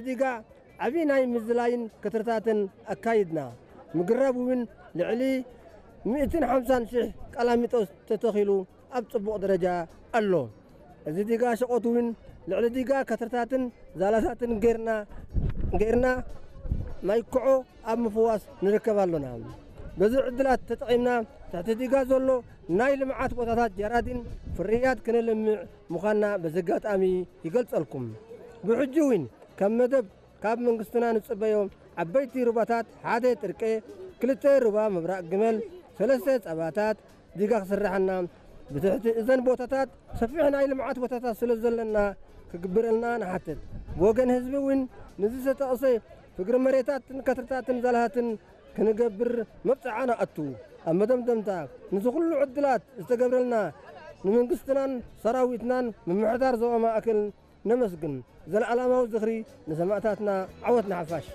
ዲጋ ዓቢ ናይ ምዝላይን ክትርታትን ኣካይድና። ምግራብ እውን ልዕሊ ሚእትን ሓምሳን ሽሕ ቀላሚጦስ ተተኺሉ ኣብ ጽቡቕ ደረጃ ኣሎ። እዚ ዲጋ ሸቖት እውን ልዕሊ ዲጋ ከትርታትን ዛላታትን ጌርና ጌርና ማይ ኮዖ ኣብ ምፍዋስ ንርከብ ኣሎና። በዚ ዕድላት ተጠቒምና ትሕቲ ዲጋ ዘሎ ናይ ልምዓት ቦታታት ጀራዲን ፍርያት ክነልምዕ ምዃንና በዚ ኣጋጣሚ ይገልጸልኩም። ብሕጂ እውን ከም መደብ ካብ መንግስትና ንጽበዮ ዓበይቲ ሩባታት ሓደ ጥርቄ፣ ክልተ ሩባ ምብራቕ ግመል፣ ሰለስተ ጸባታት ዲጋ ክስርሓና ብትሕቲ እዘን ቦታታት ሰፊሕ ናይ ልምዓት ቦታታት ስለ ዘለና ክግብረልና ንሓትት። ብወገን ህዝቢ እውን ንዝተጠቕሰ ፍግሪ መሬታትን ከትርታትን ዛላሃትን ክንገብር መብጽዓ ንኣቱ። ኣብ መደምደምታ፣ ነዚ ኩሉ ዕድላት ዝተገብረልና ንመንግስትናን ሰራዊትናን ምምሕዳር ዞባ ማእከል ነመስግን። ዘለኣለማዊ ዝኽሪ ንሰማእታትና፣ ዓወት ንሓፋሽ።